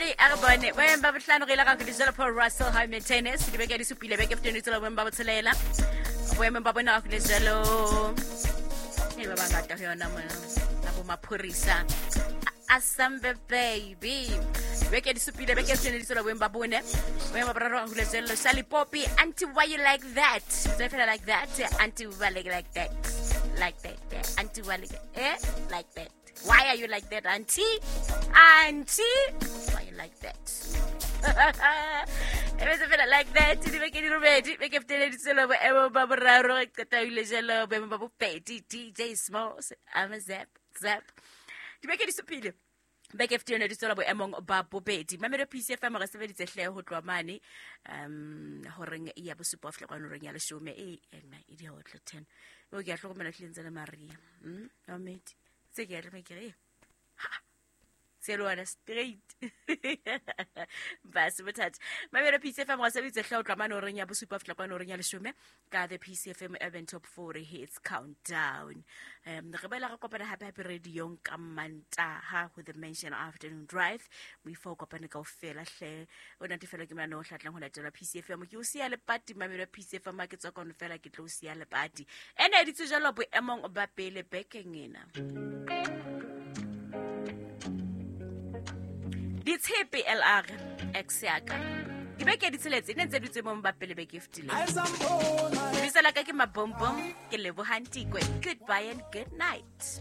Mamedi a re bone boemong ba bohlano re ile ga go Paul Russell high maintenance dibeke di supile beke feteng tsela boemong ba botshelela boemong ba bone ga go jalo e ba bangata go yona mona na bo maphorisa asambe baby beke di supile beke feteng tsela boemong ba bone boemong ba boraro ga go jalo Sally Poppy auntie why you like that tse fela like that auntie why like that like that auntie why like eh like that. Why are you like that, auntie? Auntie, why you like that? E betse fela like that dibeke di robedi beke feteleditse lo boemo ba boraro re qeta ile jalo boemo ba bobedi DJ Smalls I'm a zap zap dibeke di supile beke fete yone di tswela boemong ba bobedi mamelo PCFM re sebeditse hle ho tloha mane horeng ya bosupa ho fihla kwano horeng ya leshome e ena e di hotlo 10 o ke a hlokomela tlileng tse le maria mamedi tse ke a tlame ke re ha tselwana straight base bothata mamelo PCFM wa sebeditse hle o tloha mane horeng ya bosupa ho fihla kwano horeng ya leshome ka the PCFM Urban Top 40 Hits Countdown. Re boela re kopana hape hape radiong ka Mantaha ho the Mansion Afternoon Drive. Moifo o kopane kaofela hle o natefelwa ke molano o hlatlang ho latela PCFM. Ke o siya lepati mamelo PCFM ha ke tswa kwano fela ke tlo o siya lepati. Ene e ditse jalo boemong ba pele bekeng ena. Ditshepe LR X yaka dibeke di tsheletse ne ntse di tswe mo ba pele beke e fetileng. Lebitso la ka ke Mabombom, ke Lebohang Tikwe. Goodbye and good night.